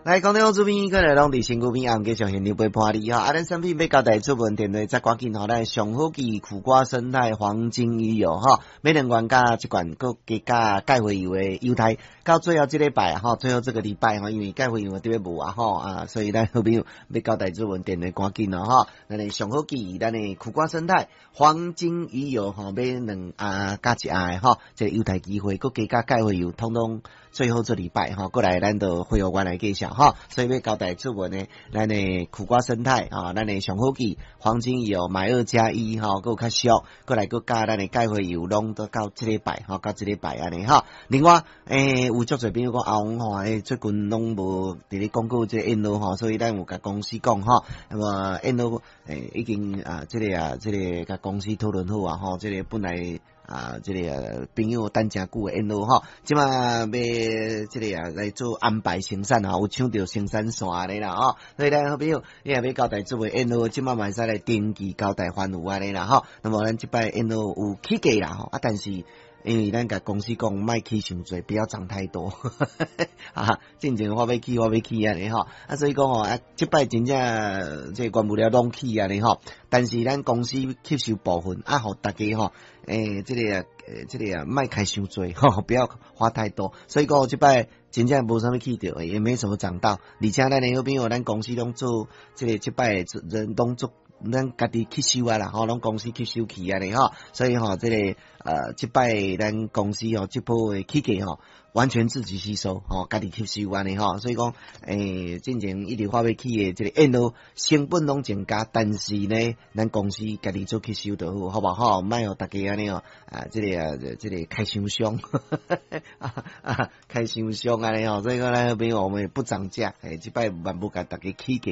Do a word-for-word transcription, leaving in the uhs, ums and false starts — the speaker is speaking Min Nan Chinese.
來，講到這邊，過來攏佇身軀邊，啊，繼續現場陪伴你吼。啊，咱產品欲交代出門電話，再趕緊吼，咱上好記苦瓜生態黃金魚油吼，買兩罐佮一罐，閣加價蓋回油的優待，到最後這禮拜吼，最後這個禮拜吼，因為蓋回油特別無啊吼啊，所以咱好朋友欲交代出門電話趕緊咯吼。咱的上好記，咱的苦瓜生態黃金魚油吼，買兩盒佮一盒的吼，這個優待機會，閣加價蓋回油，統統最後這禮拜吼，過來咱就會有關來介紹吼，所以欲交代出門的，咱的苦瓜生態啊，咱的上好記黃金魚油買二加一吼，閣有較俗，過來閣加咱的蓋回油，攏都到這禮拜吼，到這禮拜按呢吼。另外，欸，有足濟朋友講阿王吼，欸，最近攏無佇咧廣告這個燕窩吼，所以咱有共公司講吼，那麼燕窩欸已經啊，這個啊，這個共公司討論好啊吼，這個本來。啊，這個朋友等誠久的燕窩吼，這馬欲這個啊來做安排生產啊，有搶著生產線咧啦吼，所以咱好朋友，你若欲交代做燕窩，這馬嘛會使來登記交代翻有按呢啦吼。那麼咱這擺燕窩有起價啦吼，啊，但是因為咱共公司講，莫起傷濟，不要漲太多。啊，進前我欲起，我欲起按呢吼，啊，所以講吼，啊，這擺真正這個原物料攏起按呢吼，但是咱公司吸收部分，啊，予大家吼，欸，這個啊，這個啊，莫開傷濟，吼，不要花太多。所以講這擺真正無啥物起著，也沒什麼漲到。而且咱的好朋友，咱公司攏做這個這擺人攏做。咱家己吸收啊啦，吼，攏公司吸收去按呢吼，所以吼，這個呃，這擺咱公司吼，這波的起價吼，完全自己吸收，吼，家己吸收按呢吼，所以講，欸，進前一直話欲起的這個燕窩成本攏增加，但是呢，咱公司家己做吸收就好，好無吼？莫予大家按呢哦，啊，這個啊，這個開傷傷，啊，開傷傷按呢吼，所以講咱好朋友我們不漲價，欸，這擺嘛無共大家起價。